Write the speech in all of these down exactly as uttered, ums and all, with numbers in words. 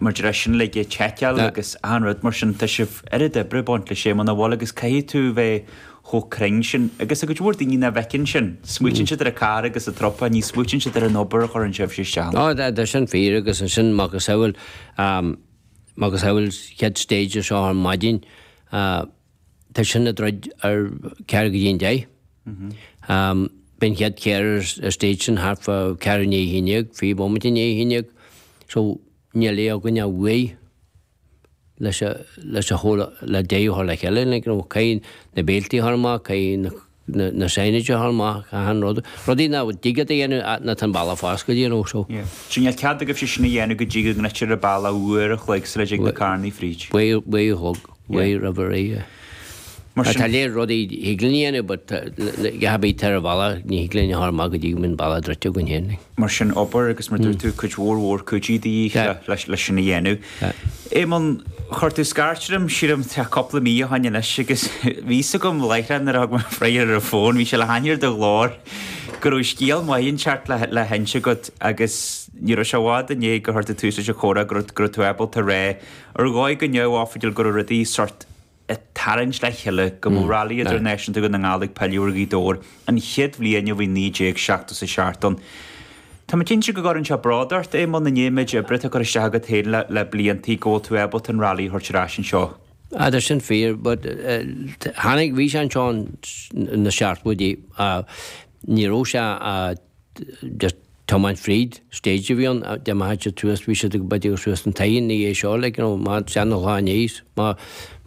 Mar deir sin le seiceáil agus an rud mar sin tá sibh oiread oibre ag baint leis Éamonn a bhfuil agus caithfidh tú bheith chomh cruinn sin agus a cuid mhór daoine nach bhfeiceann sin. Smaoitíonn siad ar an carr agus an trupa, ní smaoitíonn siad ar an obair a chuireann sibh isteach. Ó, tá sin fíor agus ansin macasamhail macasamhail chéad stage seo ar maidin tá sin ag druid ar ceathrú go dtí an deich. Bíonn an chéad charr ar stage sin thart fá ceathrú i ndiaidh a haon déag, fiche bomaite i ndiaidh a haon déag. So níl aon againn ach uair leis a leis a chur le deireadh a chur le chéile like you know caithfidh na béiltí a chur amach, caithfidh na na na signage a chur amach, achan rud. Rudaí nach dtig leat a dhéanamh nuair atá an bealach foscailte you know so. Yeah. So níl cead agaibhse sin a dhéanamh go dtí go ndruidtear an bealach uair a chloig sula dtig na carrannaí fríd. Uair uair a chlog, uair roimh ré, yeah. Mar sin. Tá léir rudaí thig linn a dhéanamh but a bheith ar an bhealach ní thig linn a chur amach go dtí go mbíonn an bealach druidte againn féin. Mar sin obair agus mar dúirt tú cuid mhór mhór cúitigh de dhíth leis sin a dhéanamh. Éamonn, chuir tú scairt orm sílim tá cúpla mí ó shin anois agus bhí fhios agam láithreach nuair a thug mé freagra ar an bhfón, bhí sé le haithne ar do ghlór, go raibh scéal maith inteacht le le hinse agat agus ní raibh sé i bhfad i ndiaidh gur chuir tú tús leis an chomhrá go raibh go raibh tú ábalta rá ar dhóigh go neamhoifigiúil go raibh rudaí sort ag tarraingt le chéile go mbeadh Railí Idirnáisiúnta Dhún na nGall ag pilleadh ar Ghaoth Dobhair an chéad bhliain ó bhí naoi déag seachtó is a seacht ann. Tá mé cinnte go gcuireann sé bród ort, Éamonn, i ndiaidh an méid oibre atá curtha isteach agat féin le bliantaí go bhfuil tú ábalta an Railí a thabhairt ar ais anseo. Ah, tá sin fíor, but tháinig, bhí sé anseo na seachtóidí, ní raibh sé just tiomáint fríd stage a bhí ann, dá mbeadh siad suas, bhí siad ag b'fhéidir suas an toigh ina dhiaidh seo like you know má seana-lá aníos, má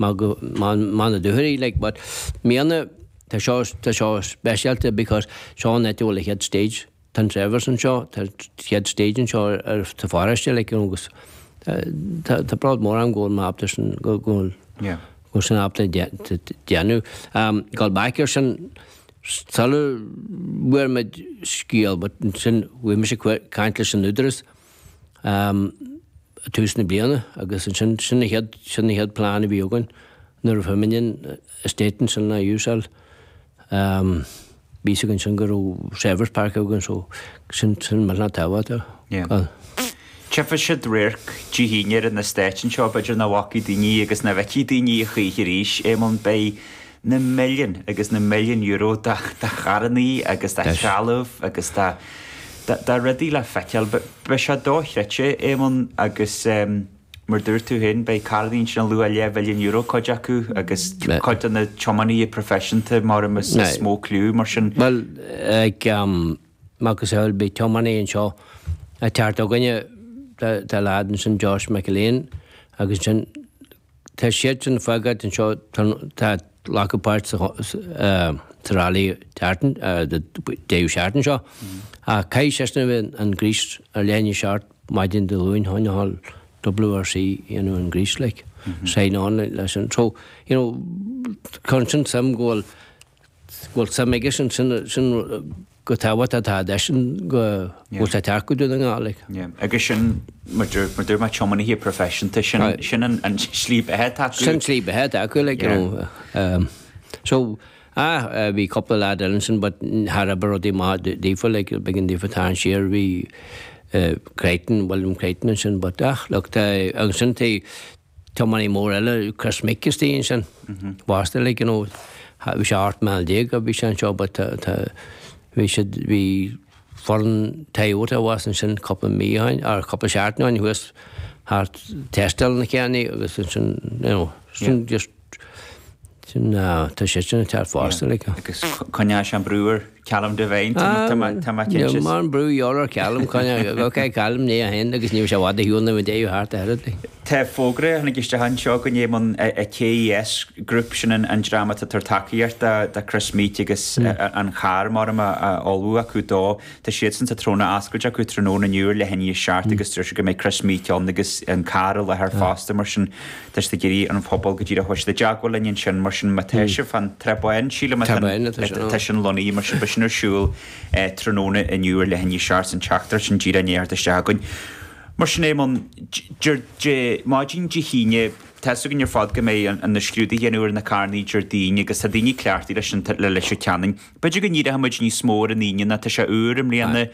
má go má má na dúthairí like but i mbliana tá seo tá seo speisialta because seo an áit a bhfuil an chéad stage, tá an Trevor's anseo, tá an chéad stage anseo ar ar sa pharóiste like you know agus tá tá bród mór orm go bhfuil mé ábalta sin go go bhfuil Yeah. go bhfuil sin ábalta déanamh. Um gabháil back ar sin Sula bhfuair muid scéal, but ansin bhí mise ag caint leis an Údarás i tús na bliana agus ansin sin an chéad, sin an chéad plean a bhí againn nuair a fuair muid an estate ansin le úsáil. Bhí fhios againn ansin go raibh Trevor's Park againn so sin, sin millteanach tábhachtach. Yeah. Tchífidh siad radharc Dé hAoine ar an estate anseo, b'fhéidir nach bhfacaidh daoine agus nach bhfeicfidh daoine a choíche arís, Éamonn, beidh na milliúin agus na milliúin euro de charrannaí agus de threalamh agus de rudaí le feiceáil. Beidh sé dochreidte, Éamonn, agus mar dúirt tú féin, beidh carrannaí ansin ar luach leathmhilliún euro cuid acu agus cuid de na tiománaithe proifisiúnta mar is mó cliú mar sin. Bhuel, ag macasamhail beidh tiománaí anseo ag teacht chugainne, tá leaid ansin Josh McErlean agus ansin tá siad sin fágáilt anseo tá glacadh páirt sa sa rally seachtain deireadh seachtain seo ach caithfidh seisean a bheith an gríos ar leath i ndiaidh a seacht maidin Dé Luain chun a dhul WRC dhéanamh an gríos like sign on leis an so you know cuireann sin suim go bhfuil go bhfuil suim aige sin sin sin go tábhachtach atá eisean go bhfuil sé ag teacht go Dún na nGall like. Yeah. Agus sin mar dúirt mar dúirt mé tiománaithe proifisiúnta sin sin an an slí beatha atá acu. Sin slí beatha atá acu like you know um, so ah bhí cúpla leaid eile ansin but thar obair rudaí maith daofa like b'éigean daofa tarraingt siar bhí uh, Crichton William Crichton ansin but ach look tá ansin tá tiománaí mór eile Chris Meeke istigh ansin fosta like you know bhí sé ocht mbliana déag a bhí sé anseo but tá tá bhí siad bhí foireann Toyota abhus ansin cúpla mí ó shin or cúpla seachtain ó shin thuas thart tástáil na carrannaí agus ansin you know sin just sin tá sé sin ag teacht fosta like. Agus coinneoidh sé an brú ar Callum Devine tá mé tá mé cinnte. Níl mórán brú ar Callum coinneoidh ok Callum ní a haon agus ní raibh sé i bhfad ar shiúl na bhfuil thart a oiread like. Tá fógra a tháinig isteach anseo go ndéanann an KES Group, sin an dream atá ag tabhairt tacaíocht do Chris Meeke agus an carr mar a ullmhú acu dó. Tá siadsan sa tráthnóna oscailte acu tráthnóna inniu ar leath i ndiaidh a seacht agus deir siad go mbeidh Chris Meeke ann agus an carr i láthair fosta mar sin tá siad ag iarraidh an phobal go díreach bheidh siad i dteagmháil linn ansin mar sin má tá sibh fan Trá Bháin sílim atá sin lonnaithe mar sin beidh sin ar siúl tráthnóna inniu ar leath i ndiaidh a seacht san teachtaireacht sin díreach i ndiaidh theacht isteach againn. Mar sin Éamonn, Dé maidin Dé hAoine, tá 'fhios againn ar fad go mbeidh an na scrúduithe a dhéanamh ar na carrannaí Déardaoin agus tá daoine cleachtaithe leis an le Leitir Ceanainn. B'fhéidir go ndíreoidh muid níos mó ar an Aoine ná tá sé úr i mbliana.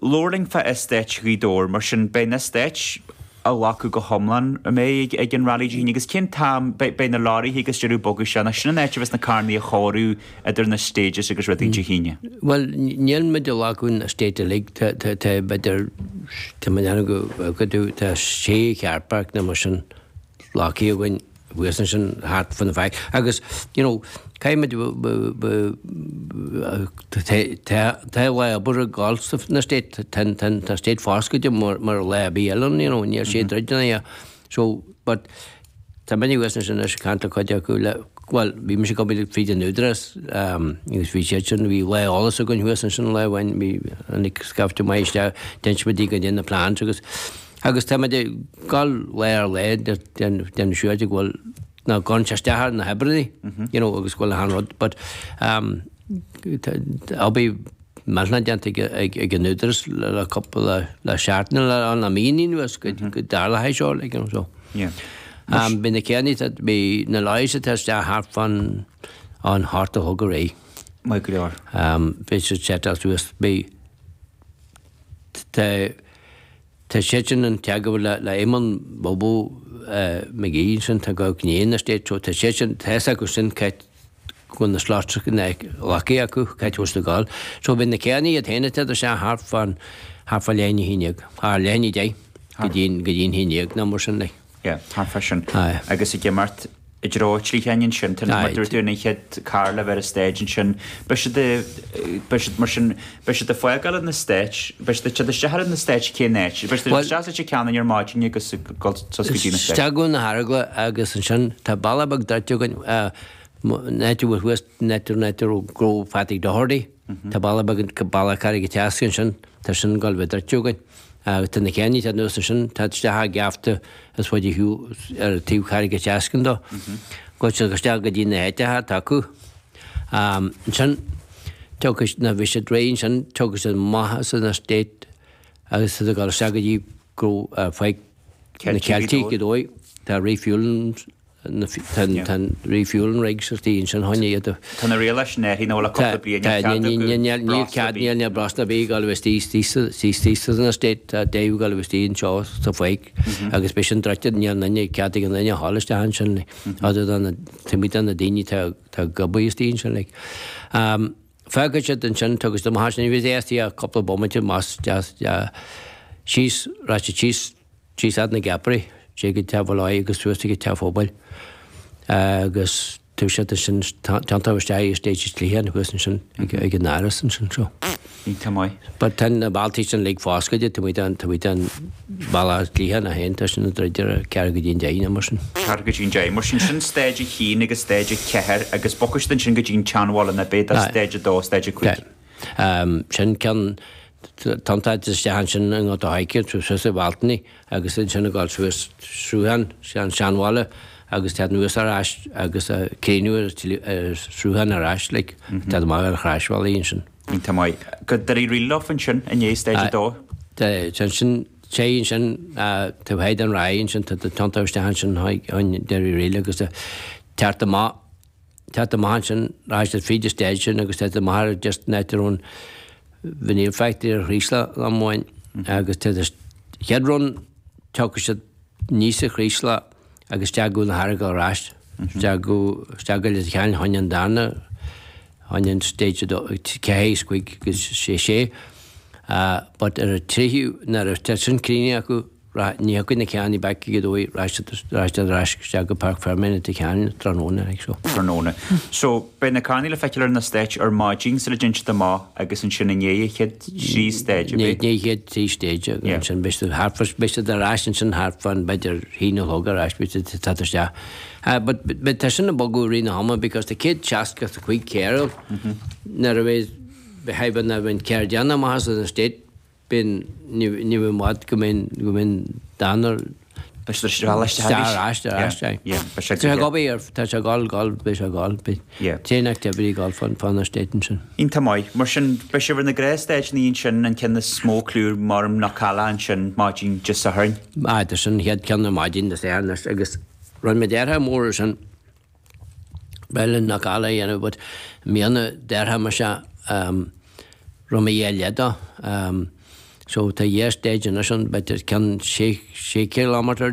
Labhair linn fá Eastát Ghaoth Dobhair, mar sin beidh na estáit a ghlacadh go hiomlán a mbeidh ag an rally Dé hAoine agus cén t-am beidh na lorraithe agus deireadh bogadh sé ná sin an áit a bheas na carranna a chóiriú idir na stages agus rudaí Dé hAoine. Well níl muid ag glacadh an estate uilig tá tá b'fhéidir tá mé ag déanamh go go tá sé car park nó mar sin glactha againn thuas ansin thart fan na faic agus you know caithfidh muid tá lá obair ag gabháil san estate tá tá estate foscailte mar mar lá ar bith eile you know níl sé druidte ná so but tá mé thuas ansin anois ag caint le cuid acu le bhuel bhí mise ag obair fríd an Údarás agus bhí siad sin bhí lá eolais againn thuas ansin lá amháin bhí tháinig scaifte maith isteach d'inis muid go dtí na plans agus Agus tá muid ag gabháil lá ar lá déanamh siúr de go bhfuil ná gcuireann sé isteach ar na hoibrithe, you know, agus go bhfuil achan rud. But um, obair millteanach déanta ag, ag an Údarás le cúpla le seachtain le le mí anuas go go dtarlóidh seo, like, you know, so. Yeah. Um, Bhí na céanna, bhí na lorries atá isteach thart fan an hocht a chlog aréir. Maith go leor. Um, bhí siad setáil suas, bhí tá Tá siad sin an teagmháil le le Éamonn Bobo McGee ansin tá go gné an estate so tá siad sin tá fhios acu sin cá go bhfuil na slots glactha acu cá bhfuil siad ag gabháil. So beidh na carranna iad féin ag teacht isteach thart fán thart fá leath i ndiaidh a haon déag, thar leath i ndiaidh a deich go dtí go dtí an haon déag nó mar sin like. Yeah, thart fá sin. Aye. Agus ag imeacht i dtreo an tsliocháin ansin, tá mar dúirt tú an chéad carr le bheith ar an stage ansin, beidh siad beidh siad mar sin, beidh siad ag fágáil an estate, beidh siad ag teacht isteach ar an estate cén áit, beidh siad isteach sa Leitir Ceanainn ar maidin agus ag dul suas go dtí an estate. Isteach go na hEaragla agus ansin tá bealach beag druidte againn, an áit a bhfuil thuas, an áit an áit a raibh gnó Phatty Doherty, tá bealach beag, bealach Carraig an tSeasca ansin, tá sin ag dul a bheith druidte againn. Agus tá na carranna atá anuas ansin, tá isteach a geafta is faide ar shiúl ar taobh Charraig an tSeascann dó. Gabhfaidh siad isteach go dtí na háiteacha atá acu. Ansin, tiocfaidh, nuair a bhí siad réidh ansin, tiocfaidh siad amach as an estate agus siad ag dul isteach go dtí go Pháirc na Ceiltigh, Gaoth Dobhair. Tá refueling Tá an refueling rig sa tí ansin chun iad a. Tá na rialacha sin athraithe nó le cúpla bliain níl cead acu Níl cead níl níl breosla ar bith ag dul a bheith istigh istigh san estate tá Dave ag dul a bheith istigh anseo sa pháirc agus beidh sin druidte níl aon duine cead ag aon duine a ghabháil isteach ansin other than na taobh amuigh de na daoine atá atá ag obair istigh ansin like. Fágfaidh siad ansin tiocfaidh siad amach ansin ní bheidh istigh ach cúpla bomaite más síos rachaidh siad síos Síos fhad na gCeapairí, siar go Teach Mholloy agus suas go Teach Phobail agus tá siad ansin tiontaithe isteach i estate an tSliocháin thuas ansin ag an Áras ansin so. Iontach maith. But tá na bealtaí sin uilig foscailte, tá muid an, tá muid an bealach Sliocháin a haon, tá sin ag druid ar ceathrú go dtí an deich nó mar sin. Ceathrú go dtí an deich, mar sin, sin stage a haon agus stage a ceathair agus bogfaidh siad ansin go dtí an tSeanbhaile ná beidh do stage a dó, stage a cúig. Sin ceann Tiontaithe isteach ansin i nGort a' Choirce, suas i Bhealtaine agus ansin ag dul suas Sruthán, an Seanbhaile agus teacht anuas ar ais agus críochnú ar Sruthán ar ais, like, teacht amach ar Chroisbhealaí ansin. Iontach maith. Go Doire Riabhach ansin i ndiaidh stage a dó. Ansin, téigh ansin taobh thoir den Ráth ansin, tá tiontú isteach ansin chuig Doire Riabhach agus teacht amach, teacht amach ansin, rachaidh siad fríd an stage sin agus teacht amach ar just an áit a raibh an Vinyl Factory ar Chraoslach am amháin agus tá an chéad run tiocfaidh siad aníos an Chraoslach agus isteach go na hEaragail ar ais, isteach go, isteach go Leitir Ceanainn chuig an darna, chuig an stage a dó, ceathair is cúig agus sé sé. But ar an tríú, nuair atá sin críochnaithe acu, Ní thiocfaidh na carranna back go Gaoth Dobhair, rachaidh siad ar ais isteach go Páirc Fermé i Leitir Ceanainn tráthnóna like so. Tráthnóna. So, beidh na carranna le feiceáil ar an estate ar maidin sula dtéann siad amach agus ansin i ndiaidh an chéad trí stage, ab é? I ndiaidh an chéad trí stage agus ansin beidh siad thart fá, beidh siad ar ais ansin thart fán b'fhéidir haon a chlog ar ais beidh siad ag teacht isteach. But but tá sin ag bogadh i rith na hama because tá céad seasca is a cúig carr ann nuair a bheidh, beidh nuair a bheidh an carr déanta amach as an estate Bíonn, ní ní i bhfad go mbíonn, go mbíonn dan ar. Beidh siad ar ais ar ais, ar ais, aye. Yeah, beidh sé Tá sé ag obair ar, tá sé ag gabháil, gabháil, beidh sé ag gabháil, beidh Yeah. chain activity ag gabháil fán, fán estate ansin. Iontach maith. Mar sin, beidh sibh ar na gnáthstáiseanna ansin, an ceann is mó clú mar Knockalla ansin maidin Dé Sathairn. Aye, tá sin an chéad ceann ar maidin Dé Sathairn agus rinne muid deartha mór ar sin. Ba mhaith linn Knockalla a dhéanamh but i mbliana deartha mise rinne mé dhá leath dó. So tá dhá stage anois ann b'fhéidir ceann sé sé kilometer